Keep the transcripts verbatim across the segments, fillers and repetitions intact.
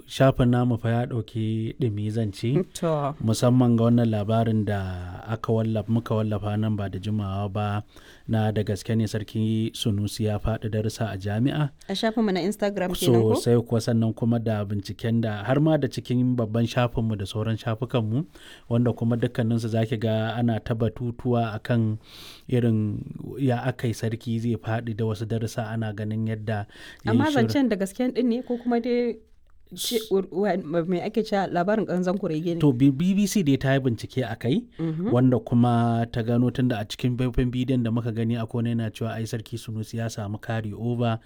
Shafin namu fa ya ɗauki ɗumi zan ce, To. musamman ga wannan labarin da aka wallafa muka wallafa nan ba da jimawa ba na da gaske ne Sarki Sunusi ya faɗi darussa a jami'a. A shafinmu na Instagram kenan ko? Sosai kuwa, sannan kuma da binciken da har ma da cikin babban shafinmu da sauran shafukanmu, wanda kuma dukkaninsu za ki ga ana ta batutuwa akan irin ya aka yi sarki zai faɗi da wasu darussa, ana ganin yadda ya yi Amma shiru. zancen da gasken ɗin ne ko kuma dai ce me ake cewa labarin ƙanzon kurege ne? To, B- BBC dai ta yi bincike a kai, wanda kuma ta gano tunda a cikin faifan bidiyon da muka gani akwai wani yana cewa ai Sarki Sunusi ya samu carry over,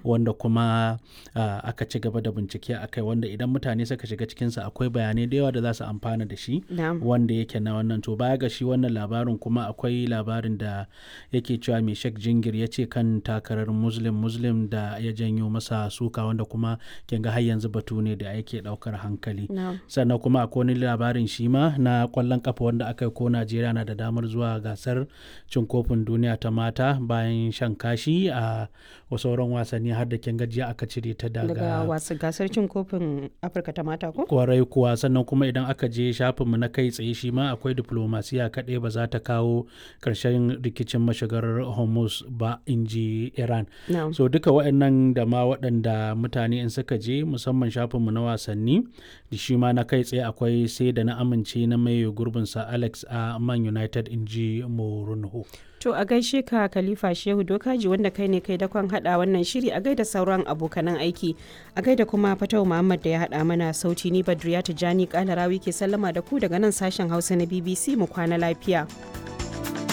wanda kuma ah, aka ci gaba da bincike a kai, wanda idan mutane suka shiga cikinsa akwai bayanai da yawa da za su amfana da shi. Na'am. Wanda yake na wannan, to baya ga shi wannan labarin kuma akwai labarin da yake cewa mai Sheikh Jingir ya ce kan takarar Muslim Muslim da ya janyo masa suka, wanda kuma kin ga har yanzu batu ne da yake daukar hankali. Na'am. Sannan kuma akwai wani labarin shi ma na kwallon kafa wanda aka yi ko Najeriya na da damar zuwa gasar cin kofin duniya ta mata bayan shan kashi a sauran wasanni, har da kin gajiya aka cire ta Daga wasu gasar cin kofin Afirka ta mata ko? Kwarai kuwa. Sannan kuma idan aka je shafinmu na kai tsaye shi ma akwai diplomasiya kaɗai ba za ta kawo ƙarshen rikicin mashigar Hormuz ba, in ji Iran. Na'am. So duka waɗannan da ma waɗanda mutane in suka je musamman shafinmu na wasanni da shi ma na kai tsaye akwai sai da na amince na mai gurbinsa Alex a Man United, in ji Mourinho. To, a gaishe ka Khalifa Shehu Dokaji, wanda kai ne kai dakon hada wannan shiri, a gaida sauran abokanan aiki, a gaida kuma Fatau Muhammad da ya hada mana sauti. Ni Badriya Tijani Kalarawi ke sallama da ku daga nan sashen Hausa na B B C. Mu kwana lafiya.